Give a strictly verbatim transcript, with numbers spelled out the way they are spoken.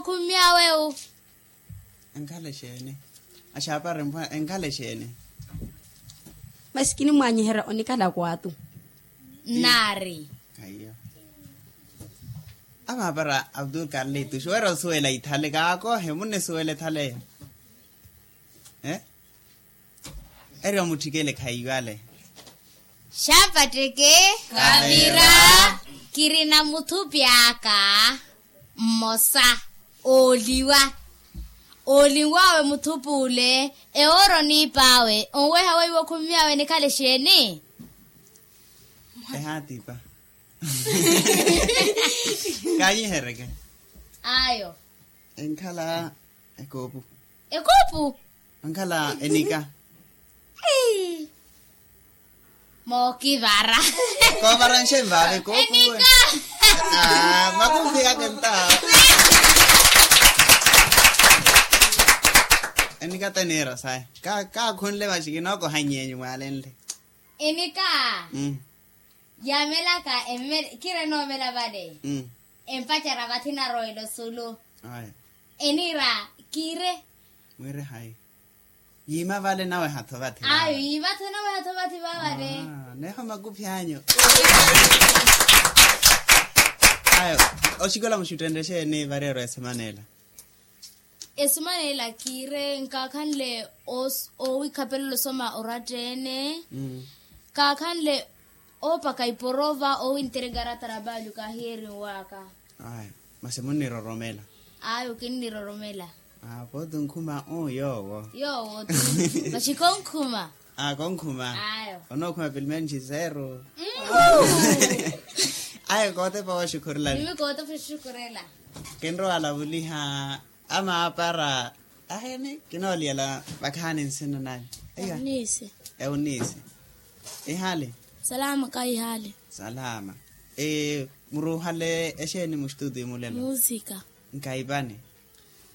Khummyawe wu. Enkhala exeeni? Axaapara empwa enkhala exeeni? Masi kinimwaanyiherya onikhala kwaatu. Nnaari. Khayiyo. Amaapara abdul karlituxi weera osuwela ithale kaakohe munnisuwela ethaleyo. Eri omutthikele khaiwale. Xapatteke. Kavira. Kirina muthupi aka mmosa ooliwa. Ooliwawe muthupi ole ewoora oniip'awe onweha weiwo khummiyawe nikhala exeeni? Ehaatipa. Kaanyihereke. Ayo. Enkhala ekoopu. Ekoopu. Ankhala enika. Mookivara. Koovara nxenvaave koopu. Enika. Makumphi aka enta. Enika teniira saya. Kaakhunle maxi kinookoha nyeenyu mwaalenle. Enika. Yaamelaka. Kira enoomela vale. Empacerya vathi narowela osulu. Eniira kiire. Mwiire hayi? Yiima vale naweha-tho vathi. Ayo yiima-tho naweha-tho vathi vavale. Neeho makuphi anyu. Ayo oxikola muxuttenrye exeeni vareero esemana ela? Esemana ela kiire nkaakhanle owiikhapelela osoma oratta-ene. Nkaakhanle oopaka iporova owintereka aratta arapaali okahiyeeriw'aka. Masi munniroromela? Ayo kinniroromela. Pooti onkhuma uu yoowo. Yoowo tu. Masi konkhuma. Konkhuma. Onookhuma pilimenci zeru. Ayo kootepa wooxukhurelani. Mimi kootepa oxukhurela. Kinrowa alavuliha. Amaapara. Aheeni kinooliyela vakhaani nsina nanyu? Eunice. Eunice. Ihaali? Salama kahihaali. Salama. Muruuhale exeeni muxtuutiyo mulelo? Musika. Nkaipani.